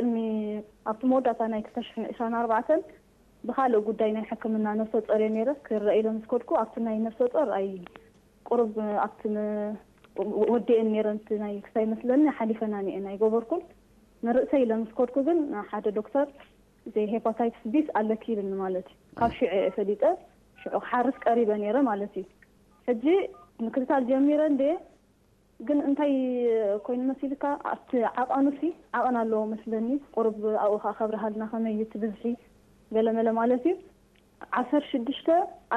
ቅድሚ ኣብቲ መወዳእታ ናይ ክልተ ሽሕን ዕስራን ኣርባዕተን ብኻልእ ጉዳይ ናይ ሕክምና ነፍሰ ጾር እየ ነይረ። ክረአ ኢለ ምስ ከድኩ ኣብቲ ናይ ነፍሰ ጾር ኣይ ቁሩብ ኣብቲ ም- ወዲኤን ነይረን እቲ ናይ ክሳይ መስለኒ ሓሊፈናን እየን ኣይገበርኩን። ንርእሰይ ኢለ ምስ ከድኩ ግን ሓደ ዶክተር እዚ ሄፓታይትስ ቢስ ኣለኪ ይብልኒ ማለት እዩ። ካብ ሽዑ እየ ፈሊጠ ሽዑ ክሓርስ ቀሪበ ነይረ ማለት እዩ። ሕጂ ምክትታል ጀሚረ እንደ ግን እንታይ ኮይኑ መሲልካ ኣብቲ ዓቐኑ ሲ ዓቐን ኣለዎ መስለኒ። ቁሩብ ኣብኡ ከዓ ከብርሃልና ከመይ እዩ እቲ ብዝሒ ገለመለ ማለት እዩ። ዓሰርተ ሽዱሽተ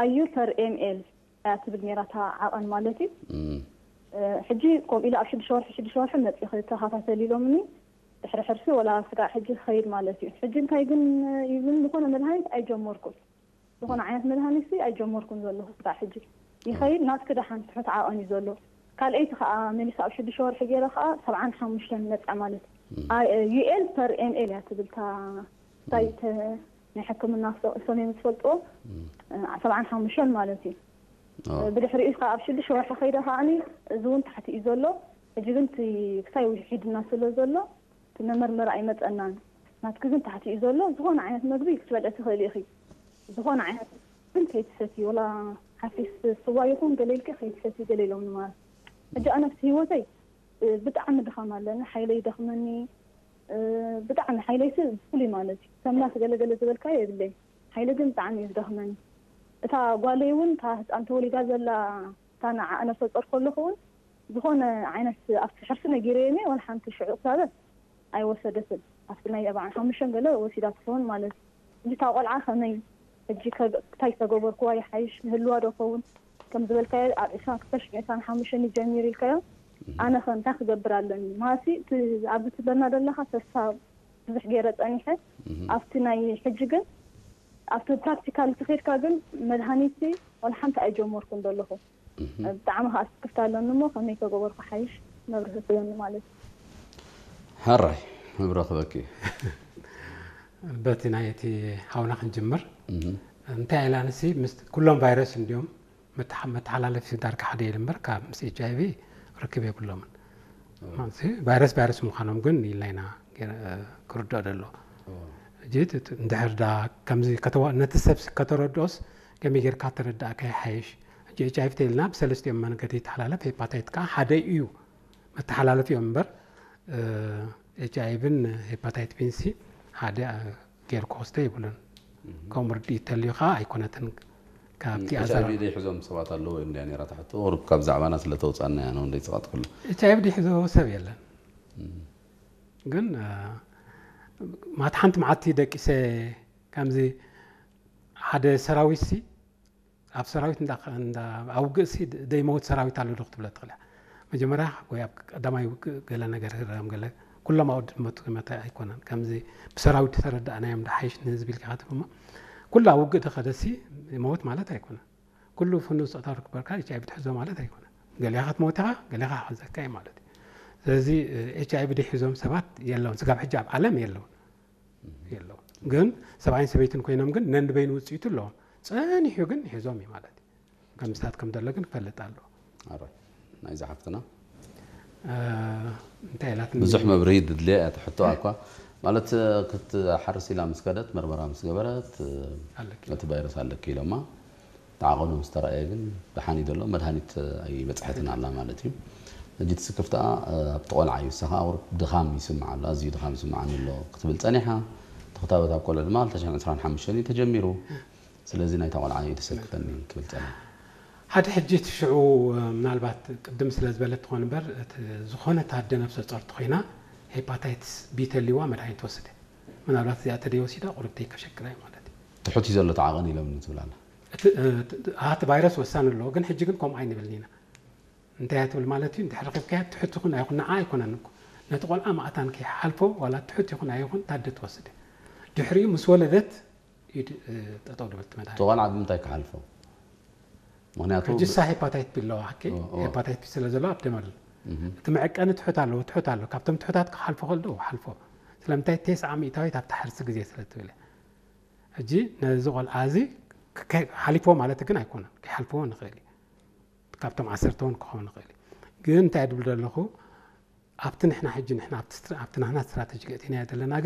ኣዩ ፐር ኤምኤል እያ ትብል ነይራ እታ ዓቐን ማለት እዩ። ሕጂ ከምኡ ኢለ ኣብ ሽዱሽተ ወርሒ ሽዱሽተ ወርሒ መፂ ክተኸታተል ኢሎምኒ። ድሕሪ ሕርሲ ወላ ስጋዕ ሕጂ ክኸይድ ማለት እዩ። ሕጂ እንታይ ግን ይብልን ዝኾነ መድሃኒት ኣይጀመርኩን። ዝኾነ ዓይነት መድሃኒት ሲ ኣይጀመርኩን ዘለኹ ስጋዕ ሕጂ። ይኸይድ ናትኪ ደሓን ትሑት ዓቐን እዩ ዘሎ። ካልኣይቲ ከዓ መሊሳ ኣብ ሽዱሽተ ወርሒ ገይረ ከዓ ሰብዓን ሓሙሽተን መፅኣ ማለት እዩ። ዩኤል ፐር ኤምኤል እያ ትብል እታ ሳይት ናይ ሕክምና ሰሜን ዝፈልጥዎ ሰብዓን ሓሙሽተን ማለት እዩ። ብድሕሪኡ ከዓ ኣብ ሽዱሽተ ወርሒ ከይደ ከዓኒ እዚ እውን ታሕቲ እዩ ዘሎ። ሕጂ ግን እቲ ክሳይ ውሒድና ስለ ዘሎ እቲ መመርመሪ ኣይመፀናን። ናትኪ ግን ታሕቲ እዩ ዘሎ። ዝኾነ ዓይነት መግቢ ክትበልዒ ትኽእሊ ኢኺ። ዝኾነ ዓይነት ግን ከይትሰቲ ወላ ሓፊስ ስዋ ይኹን ገለ ኢልኪ ከይትሰቲ ገለ ኢሎም ማለት። ሕጂ ኣነ ኣብቲ ህይወተይ ብጣዕሚ ድኻም ኣለኒ። ሓይለይ ይደኽመኒ። ብጣዕሚ ሓይለይሲ ፍሉይ ማለት እዩ። ሰምናት ገለገለ ዝበልካዮ የብለይ። ሓይለ ግን ብጣዕሚ እዩ ዝደኽመኒ። እታ ጓለይ እውን እታ ህፃን ተወሊዳ ዘላ እታ ንዓኣ ነፍሰ ፆር ከለኹ እውን ዝኾነ ዓይነት ኣብቲ ሕርሲ ነጊረየኒ ዋላ ሓንቲ ሽዑ ክሳበ ኣይወሰደትን። ኣብቲ ናይ ኣርባዓን ሓሙሽተን ገለ ወሲዳ ትኸውን ማለት እዩ። እዚ እታ ቆልዓ ከመይ ሕጂ እንታይ ዝተገበርክዋ ይሓይሽ ይህልዋ ዶ ኸውን ከም ዝበልካዮ ኣብ ዕስራን ክልተ ሽሕን ዕስራን ሓሙሽተን ይጀሚር ኢልካዮ። ኣነ ከ እንታይ ክገብር ኣለኒ ማሲ ኣብዚ ትበና ዘለኻ ተስፋ ብዙሕ ገይረ ፀኒሐ ኣብቲ ናይ ሕጂ ግን ኣብቲ ፕራክቲካል ተኸድካ ግን መድሃኒት ወላ ሓንቲ ኣይጀመርኩን ዘለኹ። ብጣዕሚ ከዓ ስክፍታ ኣለኒ እሞ ከመይ ተገበርኩ ሓይሽ መብርሂ ትበኒ ማለት እዩ። ሕራይ ምብረኽበኪ። በቲ ናይ እቲ ሓውና ክንጅምር እንታይ ኢላ ንሲ ምስ ኩሎም ቫይረስ እንዲዮም መተሓላለፊ ዳርጋ ሓደ የለ እምበር ካብ ምስ ኤች ኣይቪ ርክብ የብሎምን። ቫይረስ ቫይረስ ምዃኖም ግን ኢልና ኢና ክርድኦ ደሎ። እንድሕር ዳ ከምዚ ነቲ ሰብ ከተረድኦስ ከመይ ጌርካ ተረዳእካ ይሓይሽ። ሕጂ ኤች ኣይቪ ተይልና ብሰለስቲኦም መንገዲ ይተሓላለፍ፣ ሄፓታይት ከዓ ሓደ እዩ መተሓላለፊኦም እምበር ኤች ኣይቪን ሄፓታይት ቢንሲ ሓደ ጌሩ ክወስደ ይብሉን። ከምኡ ርድኢት ተልዩ ከዓ ኣይኮነትን። ካብቲ ኤች ኣይቪ ዘይሕዞም ሰባት ኣለዉ ወይ እንድያ ነይራ ትሕቶ ቁሩብ ካብ ዛዕባና ስለ ተውፃና እያ ነው እንደይፅቃጥ ኩሉ። ኤች ኣይቪ ዘይሕዞ ሰብ የለን። ግን ማት ሓንቲ መዓልቲ ደቂሰ ከምዚ ሓደ ሰራዊት ሲ ኣብ ሰራዊት ኣብ ውግእ ሲ ደይመውት ሰራዊት ኣሎ ዶ ክትብለ ትኽእል እያ። መጀመርያ ወይ ኣብ ቀዳማይ ውግእ ገለ ነገር ህረም ገለ ኩሎም ኣወድ መቱ መተ ኣይኮነን። ከምዚ ብሰራዊት ተረዳእናዮም ዶ ሓይሽ ንህዝቢ ኢልካ ክትብል እሞ ኩሉ ኣብ ውግእ ተኸደሲ ይመውት ማለት ኣይኮነን። ኩሉ ፍኑው ስቕታ ርክበርካ ኤች ኣይቪ ትሕዞ ማለት ኣይኮነን። ገሊኻ ክትመውት ኢኻ፣ ገሊኻ ክሕዘካ እዩ ማለት እዩ። ስለዚ ኤች ኣይቪ ድሒዞም ሰባት የለውን። ስጋብ ሕጂ ኣብ ዓለም የለውን የለውን። ግን ሰብኣይን ሰበይትን ኮይኖም ግን ነንበይኑ ውፅኢቱ ኣለዎም። ፀኒሑ ግን ሒዞም እዩ ማለት እዩ። ከም ምስታት ከም ዘሎ ግን ክፈልጥ ኣለዎ። ኣረ ናይዚ ሓፍትና እንታይ ኢላት ብዙሕ መብርሂ ድድልያ እያ ትሕቶ ኣኳ ማለት ክትሓርስ ኢላ ምስ ከደት መርመራ ምስ ገበረት እቲ ቫይረስ ኣለኪ ኢሎማ ተዓቐኑ ምስ ተረኣየ ግን ደሓን እዩ ዘሎ መድሃኒት ኣይበፅሐትን ኣላ ማለት እዩ። ሕጂ እቲ ስክፍታ ኣብቲ ቆልዓ እዩ። እሳ ከዓ ቁሩብ ድኻም ይስምዓ ኣሎ፣ ኣዝዩ ድኻም ይስምዓኒ ኣሎ ክትብል ፀኒሓ። እቲ ክታበት ኣብ ቆልዑ ድማ ክልተ ሽሕን ዕስራን ሓሙሽተን እዩ ተጀሚሩ። ስለዚ ናይታ ቆልዓ እዩ ተሰክፈኒ ክብል ፀኒሐ። ሓደ ሕጂ እቲ ሽዑ ምናልባት ቅድም ስለ ዝበለት ትኾን እምበር እቲ ዝኾነ ታደ ነብሰ ጾር ተኾይና ሄፓታይትስ ቢ ተልዋ መድሃኒት ትወስድ ምናልባት እዚኣ ተደይ ወሲዳ ቁርብተይ ከሸቅላ እዩ ማለት እዩ። ትሑት እዩ ዘሎ እቲ ዓቐን ኢሎምኒ ትብል ኣላ። እቲ ኣቲ ቫይረስ ወሳኒ ኣለዎ ግን ሕጂ ግን ከምኡ ኣይንብልን ኢና። እንታይ እያ ትብል ማለት እዩ እንድሕር ረኺብካያ ትሑት ይኹን ኣይኹን ንዓ ኣይኮነን እኮ ነቲ ቆልዓ ማእታን ከይሓልፎ ዋላ ትሑት ይኹን ኣይኹን ታደ ትወስድ እያ። ድሕሪኡ ምስ ወለደት እዩ ድ- ጠጠው ድብል ትመድሃኒ። ተቆልዓ ብምንታይ ክሓልፎ? ምክንያቱ ሕጂ እሳ ሄፓታይት ቢ ኣለዋ ሓቂ ኦ፣ ኦ። ሄፓታይት ቢ ስለ ዘሎ ኣብ ደም ኣሎ እቲ መዕቀኒ ትሑት ኣለዎ ትሑት ኣሎ ካብቶም ትሑታት ክሓልፎ ከል ዶ ሓልፎ ስለምንታይ ቴስዓ ሚእታዊት ኣብታ ሕርሲ ግዜ ስለ ትብል እያ። ሕጂ ነዚ ቆልዓ እዚ ከ- ሓሊፎ ማለት ግን ኣይኮነን ከይሓልፍዎ ንኽእል እዩ ካብቶም ዓሰርተ እውን ክኸውን ንኽእል እዩ ግን እንታይ ድብል ዘለኹ ኣብቲ ንሕና ሕጂ ንሕና ኣብቲ ናህና ስትራተጂ ገእቲናዮ ዘለና ግን